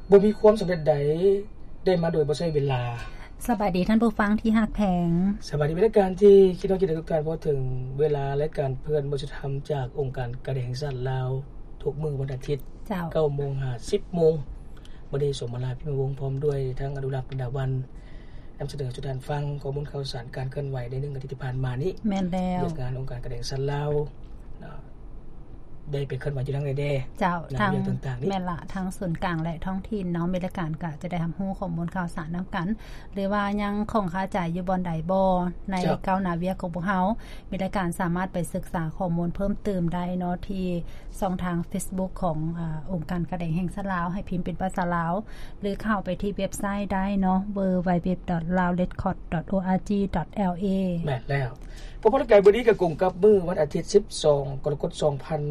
ບໍ່ມີຄວາມສຳເລັດໃດໄດ້ມາໂດຍບໍ່ໃຊ້ເວລາ. ສະບາຍດີທ່ານຜູ້ຟັງທີ່ຮັກແພງ. ສະບາຍດີ ເປັນລາຍການທີ່ຄິດຮອດຄິດເຖິງທຸກທ່ານ. ພໍເຖິງເວລາລາຍການເພື່ອນບໍ່ຊິທຳຈາກອົງການການແດງແຫ່ງຊາດລາວ ທຸກມື້ວັນອາທິດ ເຈົ້າ ເກົ້າໂມງຫາສິບໂມງ. ມື້ນີ້ສົມມາລາ ພິມມະວົງ ພ້ອມດ້ວຍທັງອະນຸລັກ ລະດາວັນ ນຳສະເໜີສູ່ທ່ານຟັງຂໍ້ມູນຂ່າວສານການເຄື່ອນໄຫວໃນໜຶ່ງອາທິດທີ່ຜ່ານມານີ້. ແມ່ນແລ້ວ. ວຽກງານອົງການການແດງຊາດລາວ ໄດ້ໄປເຄື່ອນໄຫວຢູ່ທາງໃດແດ່? ເຈົ້າ ໃນເລື່ອງຕ່າງໆນີ້ ແມ່ນລະ ທັງສູນກາງ ແລະ ທ້ອງຖິ່ນເນາະ ມີລາຍການກໍຈະໄດ້ຮັບຮູ້ຂໍ້ມູນຂ່າວສານນຳກັນ ຫຼືວ່າຍັງຂ້ອງຄາໃຈຢູ່ບ່ອນໃດບໍ່ ໃນ ເຈົ້າ ກ້າວໜ້າວຽກຂອງພວກເຮົາ ມີລາຍການສາມາດໄປສຶກສາຂໍ້ມູນເພີ່ມເຕີມໄດ້ເນາະ ທີ່ຊ່ອງທາງເຟສບຸກຂອງ ອາ ອົງການການແດງແຫ່ງຊາດລາວ ໃຫ້ພິມເປັນພາສາລາວ ຫຼືເຂົ້າໄປທີ່ເວັບໄຊໄດ້ເນາະ www.laorecords.org.la. ແມ່ນແລ້ວ. ເພາະວ່າລາຍການມື້ນີ້ກໍກົງກັບມື້ວັນອາທິດ ສິບສອງ ກໍລະກົດ ສອງພັນ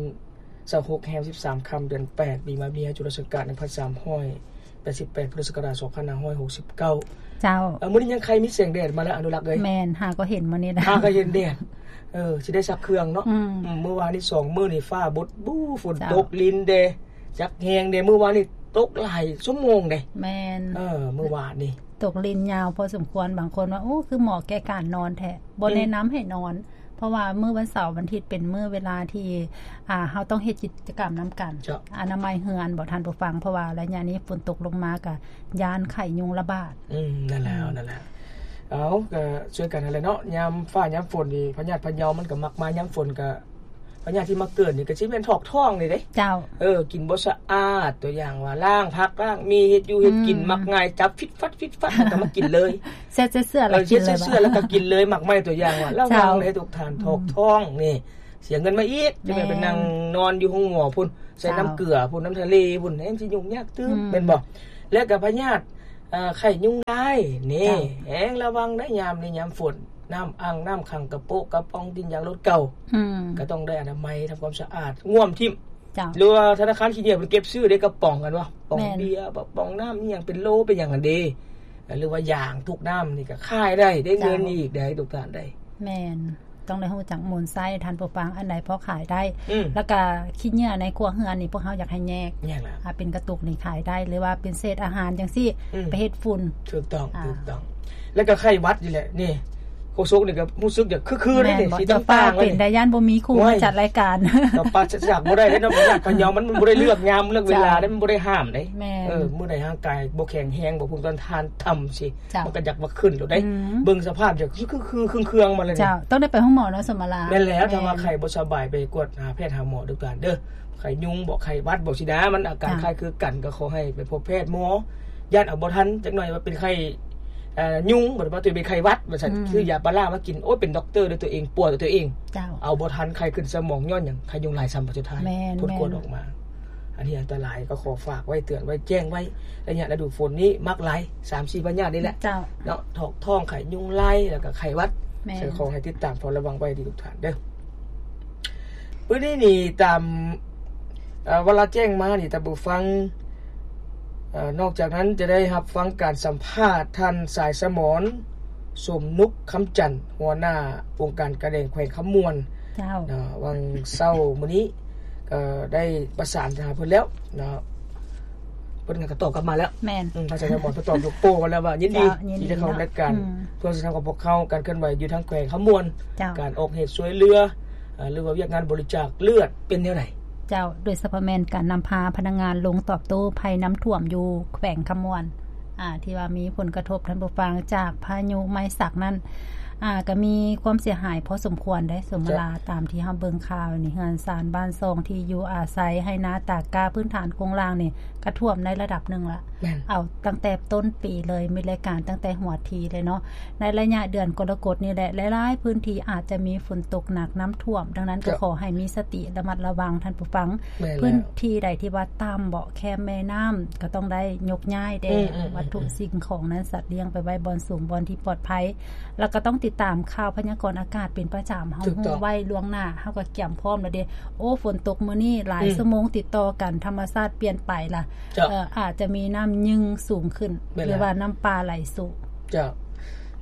ຊາວຫົກ ແຮມ ສິບສາມຄ່ຳ ເດືອນແປດ ປີມະເມຍ ຈຸລະສັກກາດ ໜຶ່ງພັນສາມຮ້ອຍແປດສິບແປດ ພຸດທະສັກກະລາດ ສອງພັນຫ້າຮ້ອຍຫົກສິບເກົ້າ. ເຈົ້າ. ເອີ ມື້ນີ້ຍັງໄຄມີແສງແດດມາແລ້ວ ອະນຸລັກເອີຍ. ແມ່ນ ຫາກໍເຫັນມື້ນີ້ນະ. ຫາກໍເຫັນແດດ. ເອີ ຊິໄດ້ຊັກເຄື່ອງເນາະ. ອືມ ອືມ ມື້ວານນີ້ສອງມື້ນີ້ຟ້າບົດບູ ຝົນ ເຈົ້າ ຕົກລິນເດ ຈັກແຮງເດ. ມື້ວານນີ້ຕົກຫຼາຍຊົ່ວໂມງເດ. ແມ່ນ. ເອີ ມື້ວານນີ້ຕົກລິນຍາວພໍສົມຄວນ. ບາງຄົນວ່າ ໂອ້ ຄືເໝາະແກ່ການນອນແທ້. ບໍ່ ອືມ ແນະນຳໃຫ້ນອນ ເພາະວ່າມື້ວັນເສົາ ວັນອາທິດ ເປັນມື້ເວລາທີ່ ອ່າ ເຮົາຕ້ອງເຮັດກິດຈະກຳນຳກັນ. ເຈົ້າ. ອະນາໄມເຮືອນບໍທ່ານຜູ້ຟັງ ເພາະວ່າໄລຍະນີ້ຝົນຕົກລົງມາ ກະຢ້ານໄຂ້ຍຸງລະບາດ. ອືມ ນັ້ນແຫຼະ ອືມ ນັ້ນແຫຼະ. ເອົາ ກະຊ່ວຍກັນຫັ້ນແຫຼະເນາະ. ຍາມຟ້າຍາມຝົນນີ້ ພະຍາດພະເຍົາມັນກະມັກມາຍາມຝົນ ກະ ພະຍາດທີ່ມາເກີດນີ້ກໍຊິແມ່ນຖອກທ້ອງນີ້ເດ້. ເຈົ້າ. ເອີ ກິນບໍ່ສະອາດ ຕົວຢ່າງວ່າລ້າງຜັກລ້າງໝີ່ ເຮັດຢູ່ເຮັດກິນ ອືມ ມັກງ່າຍ ຈັບຟິດຟັດຟິດຟັດ ແລ້ວກໍມາກິນເລີຍ. ເຊັດເຊື້ອແລ້ວກໍກິນເລີຍ ເຊັດເຊື້ອແລ້ວກໍກິນເລີຍ. ມັກໄມ້ ຕົວຢ່າງວ່າ ລະວັງເດ້ທຸກທ່ານ ເຈົ້າ ຖອກທ້ອງນີ້ ເສຍເງິນມາອີກ. ແມ່ນ. ຈັ່ງໄດ້ໄປນັ່ງນອນຢູ່ໂຮງໝໍພຸ້ນ ໃສ່ ເຈົ້າ ນ້ຳເກືອຕື່ມ ນ້ຳທະເລພຸ້ນ ແຮງຊິຫຍຸ້ງຍາກຕື່ມ. ອືມ ແມ່ນບໍ່? ແລ້ວກໍພະຍາດ ເອີ ໄຂ້ຍຸງລາຍນີ້ ເຈົ້າ ແຮງລະວັງໄດ້ຍາມນີ້ຍາມຝົນ. ນ້ຳອ່າງນ້ຳຂັງ ກະໂປະກະປ໋ອງ ຕີນຢາງລົດເກົ່າ ອືມ ກໍຕ້ອງໄດ້ອະນາໄມ ທຳຄວາມສະອາດ ງວມຖິ້ມ. ເຈົ້າ. ຫຼືວ່າທະນາຄານຂີ້ເຫຍື້ອເພິ່ນເກັບຊື້ເດ້ ກະປ໋ອງຫັ້ນວະ ປ໋ອງ ແມ່ນ ເບຍ ປ໋ອງນ້ຳອີ່ຫຍັງເປັນໂລເປັນຫຍັງຫັ້ນເດ ຫຼືວ່າຢາງທຸກນ້ຳນີ້ກໍຂາຍໄດ້ ໄດ້ເງິນ ເຈົ້າ ອີກໄດ້ທຸກທ່ານໄດ້. ແມ່ນ. ຕ້ອງໄດ້ຮູ້ຈັກໝູນໃຊ້ທ່ານຜູ້ຟັງ ອັນໃດພໍຂາຍໄດ້ ອືມ ແລ້ວກະຂີ້ເຫຍື້ອໃນຄົວເຮືອນນີ້ ພວກເຮົາຢາກໃຫ້ແຍກ ແຍກແລ້ວ ອ່າ ເປັນກະຕຸກນີ້ຂາຍໄດ້ ຫຼືວ່າເປັນເສດອາຫານຈັ່ງຊີ້ ອືມ ໄປເຮັດຝຸ່ນ. ຖືກຕ້ອງ ອ່າ ຖືກຕ້ອງ. ແລ້ວກະໄຂ້ຫວັດນີ້ແຫຼະ ນີ້ ໂຄສົກນີ້ກໍຮູ້ສຶກຢາກຄືໆ ແມ່ນບໍ່? ນີ້ ຊິຕ່າງໆ ເປັນໄດ້ ຢ້ານບໍ່ມີຄູ່ມາຈັດລາຍການ ກໍປາສະຈາກບໍ່ໄດ້ເດ້ເນາະ. ພະຍາດພະເຍົາມັນບໍ່ໄດ້ເລືອກຍາມເລືອກເວລາເດ້ ເຈົ້າ ມັນບໍ່ໄດ້ຫ້າມເດ້. ແມ່ນ. ເອີ ມື້ໃດຮ່າງກາຍບໍ່ແຂງແຮງ ບໍ່ພູມຕ້ານທານຕ່ຳຊິ ເຈົ້າ ມັນກໍຢາກມາຂຶ້ນໂລດເດ້. ອືມ ເບິ່ງສະພາບຈະຄືໆເຄືອງໆມາແລ້ວນີ້. ເຈົ້າ ຕ້ອງໄດ້ໄປໂຮງໝໍເນາະ ສົມມະລາ. ແມ່ນແລ້ວ. ແມ່ນ. ຖ້າວ່າໄຂ້ບໍ່ສະບາຍ ໄປກວດຫາແພດຫາໝໍເດີທ່ານເດີ. ໄຂ້ຍຸງບໍ ໄຂ້ຫວັດບໍ ຊີ້ນະ ມັນອາການ ເຈົ້າ ຄ້າຍຄືກັນ ກໍຂໍໃຫ້ໄປພົບແພດໝໍ. ຢ້ານເອົາບໍ່ທັນ ຈັກໜ້ອຍວ່າເປັນໄຂ້ ເອີ ຍຸງ ບໍ່ໄດ້ວ່າຕົວເອງເປັນໄຂ້ຫວັດວ່າຊັ້ນ ອືມ ຊື້ຢາປາລາມາກິນ ໂອ້ຍ ເປັນດັອກເຕີດ້ວຍຕົວເອງ ປົວດ້ວຍຕົວເອງ. ເຈົ້າ. ເອົາບໍ່ທັນ ໄຂ້ຂຶ້ນສະໝອງ ຍ້ອນຫຍັງ? ໄຂ້ຍຸງລາຍຊ້ຳ ບັດສຸດທ້າຍ ແມ່ນ ຜົນກວດ ແມ່ນ ອອກມາ. ອັນນີ້ອັນຕະລາຍ ກໍຂໍຝາກໄວ້ ເຕືອນໄວ້ ແຈ້ງໄວ້. ໄລຍະລະດູຝົນນີ້ມັກຫຼາຍ ສາມສີ່ພະຍາດນີ້ແຫຼະ ເຈົ້າ ເນາະ ຖອກທ້ອງ ໄຂ້ຍຸງລາຍ ແລ້ວກໍໄຂ້ຫວັດ. ແມ່ນ. ຂໍໃຫ້ຕິດຕາມເຝົ້າລະວັງໄວ້ດີທຸກທ່ານເດີ. ມື້ນີ້ນີ້ຕາມ ເອີ ເວລາແຈ້ງມານີ້ ທ່ານຜູ້ຟັງ ເອີ ນອກຈາກນັ້ນຈະໄດ້ຮັບຟັງການສຳພາດທ່ານ ສາຍສະໝອນ ສົມນຸກຄຳຈັນ ຫົວໜ້າອົງການການແດງແຂວງຄຳມ່ວນ. ເຈົ້າ. ເນາະ ຫວ່າງເຊົ້າມື້ນີ້ກໍໄດ້ປະສານຫາເພິ່ນແລ້ວເນາະ ເພິ່ນກໍຕອບກັບມາແລ້ວ. ແມ່ນ. ອືມ ທ່ານສາຍສະໝອນເພິ່ນຕອບໂຍກໂປ້ມາແລ້ວວ່າຍິນດີ ເຈົ້າ ຍິນດີ ທີ່ຈະເຂົ້າ ເນາະ ລາຍການ ອືມ ໂທລະສັບຂອງພວກເຮົາ ການເຄື່ອນໄຫວຢູ່ທາງແຂວງຄຳມ່ວນ. ເຈົ້າ. ການອອກເຫດຊ່ວຍເຫຼືອ ເອີ ຫຼືວ່າວຽກງານບໍລິຈາກເລືອດເປັນແນວໃດ? ເຈົ້າ ໂດຍສະເພາະແມ່ນການນຳພາພະນັກງານລົງຕອບໂຕ້ໄພນ້ຳຖ້ວມຢູ່ແຂວງຄຳມ່ວນ ອ່າ ທີ່ວ່າມີຜົນກະທົບ ທ່ານຜູ້ຟັງ ຈາກພາຍຸໄມສັກນັ້ນ ອ່າ ກໍມີຄວາມເສຍຫາຍພໍສົມຄວນເດ້ ສົມມະລາ. ເຈົ້າ. ຕາມທີ່ເຮົາເບິ່ງຂ່າວນີ້ ເຮືອນຊານບ້ານຊ່ອງທີ່ຢູ່ອາໄສ ໄຮ່ນາຕາກກ້າ ພື້ນຖານໂຄງລ່າງນີ້ ກະຖ້ວມໃນລະດັບໜຶ່ງລະ. ແມ່ນ. ເອົາຕັ້ງແຕ່ຕົ້ນປີເລີຍ ມີລາຍການຕັ້ງແຕ່ຫົວທີເລີຍເນາະ. ໃນໄລຍະເດືອນກໍລະກົດນີ້ແຫຼະ ຫຼາຍໆພື້ນທີ່ອາດຈະມີຝົນຕົກໜັກ ນ້ຳຖ້ວມ, ດັ່ງນັ້ນກໍ ເຈົ້າ ຂໍໃຫ້ມີສະຕິລະມັດລະວັງທ່ານຜູ້ຟັງ. ແມ່ນແລ້ວ. ພື້ນທີ່ໃດທີ່ວ່າຕ່ຳເບາະ ແຄມແມ່ນ້ຳ ກໍຕ້ອງໄດ້ຍົກຍ້າຍແດ່ ອືມໆໆໆ ວັດຖຸສິ່ງຂອງນັ້ນ ສັດລ້ຽງໄປໄວ້ບ່ອນສູງ ບ່ອນທີ່ປອດໄພ ແລ້ວກໍຕ້ອງຕິດຕາມຂ່າວພະຍາກອນອາກາດເປັນປະຈຳ. ເຮົາ ຖືກຕ້ອງ ຮູ້ໄວ້ລ່ວງໜ້າ ເຮົາກໍກຽມພ້ອມແລ້ວເດ້. ໂອ້ ຝົນຕົກມື້ນີ້ຫຼາຍ ອືມ ຊົ່ວໂມງຕິດຕໍ່ກັນ ທຳມະຊາດປ່ຽນໄປລະ. ເຈົ້າ. ເອີ ອາດຈະມີນ້ຳຍຶ່ງສູງຂຶ້ນ ແມ່ນແລ້ວ ຫຼືວ່ານ້ຳປ່າໄຫຼສູງ. ເຈົ້າ.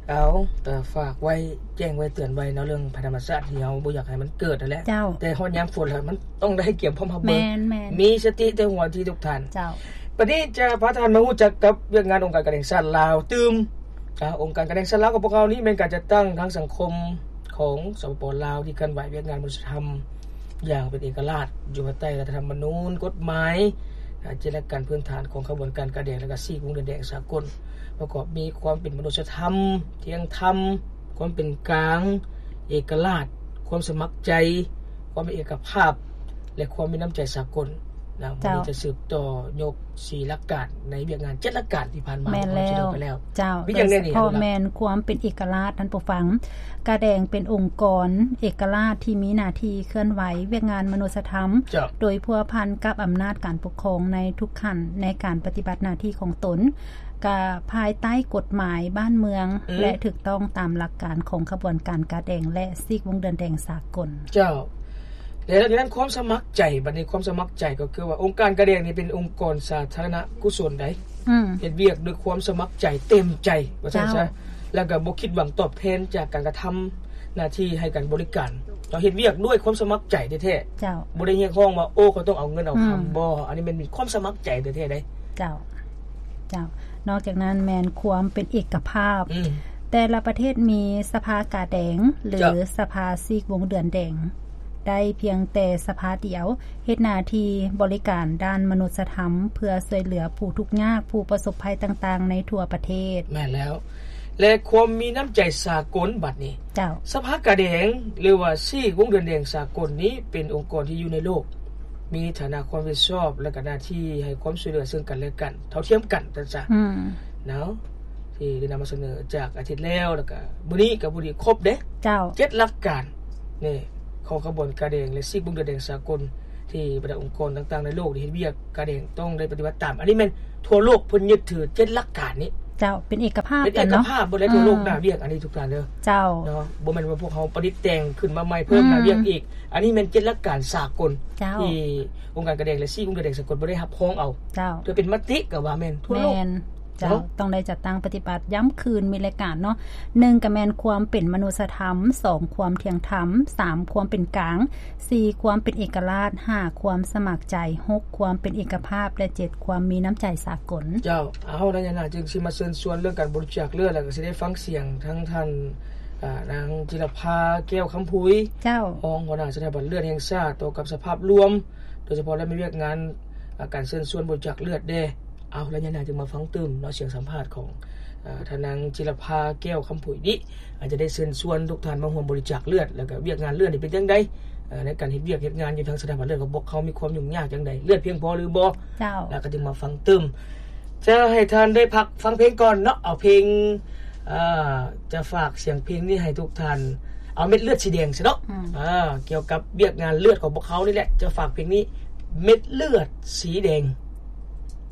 ເອົາ ກໍຝາກໄວ້ ແຈ້ງໄວ້ ເຕືອນໄວ້ເນາະ ເລື່ອງໄພທຳມະຊາດທີ່ເຮົາບໍ່ຢາກໃຫ້ມັນເກີດຫັ້ນແຫຼະ. ເຈົ້າ. ແຕ່ຮອດຍາມຝົນແລ້ວ ມັນຕ້ອງໄດ້ກຽມພ້ອມຮັບມື. ແມ່ນໆ. ມີສະຕິແຕ່ຫົວທີທຸກທ່ານ. ເຈົ້າ. ບັດນີ້ຈະພາທ່ານມາຮູ້ຈັກກັບວຽກງານອົງການການແຫ່ງຊາດລາວຕື່ມ. ອາ ອົງການການແຫ່ງຊາດລາວຂອງພວກເຮົານີ້ແມ່ນການຈັດຕັ້ງທາງສັງຄົມຂອງ ສປປ ລາວ ທີ່ເຄື່ອນໄຫວວຽກງານມະນຸດສະທຳຢ່າງເປັນເອກະລາດ ຢູ່ພາຍໃຕ້ລັດຖະທຳມະນູນ, ກົດໝາຍ, ອາ ເຈັດຫຼັກການພື້ນຖານຂອງຂະບວນການກາແດງ ແລະ ກະຊີກວົງເດືອນແດງສາກົນ ປະກອບມີຄວາມເປັນມະນຸດສະທຳ, ທ່ຽງທຳ, ຄວາມເປັນກາງ, ເອກະລາດ, ຄວາມສະໝັກໃຈ, ຄວາມເປັນເອກະພາບ ແລະ ຄວາມມີນ້ຳໃຈສາກົນນະ. ເຈົ້າ. ມື້ນີ້ຈະສືບຕໍ່ຍົກສີ່ຫຼັກການໃນວຽກງານເຈັດຫຼັກການທີ່ຜ່ານມາ ແມ່ນແລ້ວ ໄປແລ້ວ. ເຈົ້າ. ມີຫຍັງແນ່ນີ້? ໂດຍສະເພາະແມ່ນຄວາມເປັນເອກະລາດ ທ່ານຜູ້ຟັງ. ກາແດງເປັນອົງກອນເອກະລາດທີ່ມີໜ້າທີ່ເຄື່ອນໄຫວວຽກງານມະນຸດສະທຳ ເຈົ້າ. ໂດຍພົວພັນກັບອຳນາດການປົກຄອງໃນທຸກຂັ້ນໃນການປະຕິບັດໜ້າທີ່ຂອງຕົນ ກະພາຍໃຕ້ກົດໝາຍບ້ານເມືອງ ອືມ ແລະ ຖືກຕ້ອງຕາມຫຼັກການຂອງຂະບວນການກາແດງ ແລະ ຊີກວົງເດືອນແດງສາກົນ. ເຈົ້າ. ແລະ ຫຼັງຈາກນັ້ນຄວາມສະໝັກໃຈ, ບັດນີ້ຄວາມສະໝັກໃຈກໍຄືວ່າ ອົງການກາແດງນີ້ເປັນອົງກອນສາທາລະນະກຸສົນໃດ ອືມ ເຮັດວຽກດ້ວຍຄວາມສະໝັກໃຈເຕັມໃຈ ວ່າຊັ້ນຊະ ເຈົ້າ ແລ້ວກໍບໍ່ຄິດຫວັງຕອບແທນຈາກການກະທຳໜ້າທີ່ໃຫ້ການບໍລິການ. ເຮົາເຮັດວຽກດ້ວຍຄວາມສະໝັກໃຈແທ້ໆ ເຈົ້າ ບໍ່ໄດ້ຮຽກຮ້ອງວ່າ ໂອ້ ເຂົາຕ້ອງເອົາເງິນເອົາຄຳ ອືມ ບໍ່ ອັນນີ້ແມ່ນມີຄວາມສະໝັກໃຈແທ້ໆເດ້. ເຈົ້າ. ເຈົ້າ. ນອກຈາກນັ້ນແມ່ນຄວາມເປັນເອກະພາບ ອືມ ແຕ່ລະປະເທດມີສະພາກາແດງ ຫຼື ເຈົ້າ ສະພາຊີກວົງເດືອນແດງ ໄດ້ພຽງແຕ່ສະພາດຽວ ເຮັດໜ້າທີ່ບໍລິການດ້ານມະນຸດສະທຳ ເພື່ອຊ່ວຍເຫຼືອຜູ້ທຸກຍາກ ຜູ້ປະສົບໄພຕ່າງໆໃນທົ່ວປະເທດ. ແມ່ນແລ້ວ. ແລະ ຄວາມມີນ້ຳໃຈສາກົນບັດນີ້ ເຈົ້າ ສະພາກາແດງ ຫຼືວ່າຊີກວົງເດືອນແດງສາກົນນີ້ເປັນອົງກອນທີ່ຢູ່ໃນໂລກ ມີຖານະຄວາມຜິດຊອບ ແລະ ກະໜ້າທີ່ໃຫ້ຄວາມຊ່ວຍເຫຼືອເຊິ່ງກັນແລະກັນ ເທົ່າທຽມກັນ ວ່າຊັ້ນຊະ ອືມ ເນາະ ທີ່ໄດ້ນຳມາສະເໜີຈາກອາທິດແລ້ວ ແລ້ວກະມື້ນີ້ກະພໍດີຄົບເດ້ ເຈົ້າ ເຈັດຫຼັກການນີ້ຂອງຂະບວນກາແດງ ແລະ ຊີກວົງເດືອນແດງສາກົນ ທີ່ບັນດາອົງກອນຕ່າງໆໃນໂລກທີ່ເຮັດວຽກກາແດງຕ້ອງໄດ້ປະຕິບັດຕາມ. ອັນນີ້ແມ່ນທົ່ວໂລກເພິ່ນຍຶດຖືເຈັດຫຼັກການນີ້ ເຈົ້າ ເປັນເອກະພາບ ເປັນເອກະພາບ ກັນເນາະ ເບິດແລ້ວ ອືມ ທົ່ວໂລກໜ້າວຽກ ອັນນີ້ທຸກທ່ານເດີ ເຈົ້າ ເນາະ ບໍ່ແມ່ນວ່າພວກເຮົາປະດິດແຕ່ງຂຶ້ນມາໃໝ່ເພີ່ມ ອືມ ໜ້າວຽກອີກ. ອັນນີ້ແມ່ນເຈັດຫຼັກການສາກົນ ເຈົ້າ ທີ່ອົງການກາແດງ ແລະ ຊີກວົງເດືອນແດງສາກົນບໍ່ໄດ້ຮັບຮອງເອົາ ເຈົ້າ ເພື່ອເປັນມະຕິກະວ່າແມ່ນທົ່ວໂລກ ແມ່ນ ເຈົ້າ ເນາະ ຕ້ອງໄດ້ຈັດຕັ້ງປະຕິບັດ ຢ້ຳຄືນມີລາຍການເນາະ ໜຶ່ງກະແມ່ນຄວາມເປັນມະນຸດສະທຳ, ສອງຄວາມທ່ຽງທຳ, ສາມຄວາມເປັນກາງ, ສີ່ຄວາມເປັນເອກະລາດ, ຫ້າຄວາມສະໝັກໃຈ, ຫົກຄວາມເປັນເອກະພາບ ແລະ ເຈັດຄວາມມີນ້ຳໃຈສາກົນ. ເຈົ້າ. ເອົາ ໃນຍາມໜ້າຈຶ່ງຊິມາເຊີນຊວນເລື່ອງການບໍລິຈາກເລືອດ ແລ້ວກະຊິໄດ້ຟັງສຽງທັງທ່ານ ອາ ນາງຈິລະພາ ແກ້ວຄຳຜຸຍ ເຈົ້າ ຮອງຫົວໜ້າສະຖາບັນເລືອດແຫ່ງຊາດ ຕໍ່ກັບສະພາບລວມ ໂດຍສະເພາະແລ້ວມີວຽກງານ ອາ ການເຊີນຊວນບໍລິຈາກເລືອດແດ່. ເອົາ ໄລຍະໜ້າຈຶ່ງມາຟັງຕື່ມເນາະ ສຽງສຳພາດຂອງ ອາ ທ່ານນາງຈິລະພາ ແກ້ວຄຳຜຸຍນີ້ ອາດຈະໄດ້ເຊີນຊວນທຸກທ່ານມາຮ່ວມບໍລິຈາກເລືອດ ແລ້ວກະວຽກງານເລືອດນີ້ເປັນຈັ່ງໃດ ເອີ ໃນການເຮັດວຽກເຮັດງານຢູ່ທາງສະຖາບັນເລືອດຂອງພວກເຮົາມີຄວາມຫຍຸ້ງຍາກຈັ່ງໃດ ເລືອດພຽງພໍຫຼືບໍ່ ເຈົ້າ ແລ້ວກະຈຶ່ງມາຟັງຕື່ມ. ຈະໃຫ້ທ່ານໄດ້ພັກຟັງເພງກ່ອນເນາະ ເອົາເພງ ເອີ ຈະຝາກສຽງເພງນີ້ໃຫ້ທຸກທ່ານ ເອົາເມັດເລືອດສີແດງຊະເນາະ ອືມ ເອີ ກ່ຽວກັບວຽກງານເລືອດຂອງພວກເຮົານີ້ແຫຼະ ຈະຝາກເພງນີ້ ເມັດເລືອດສີແດງ.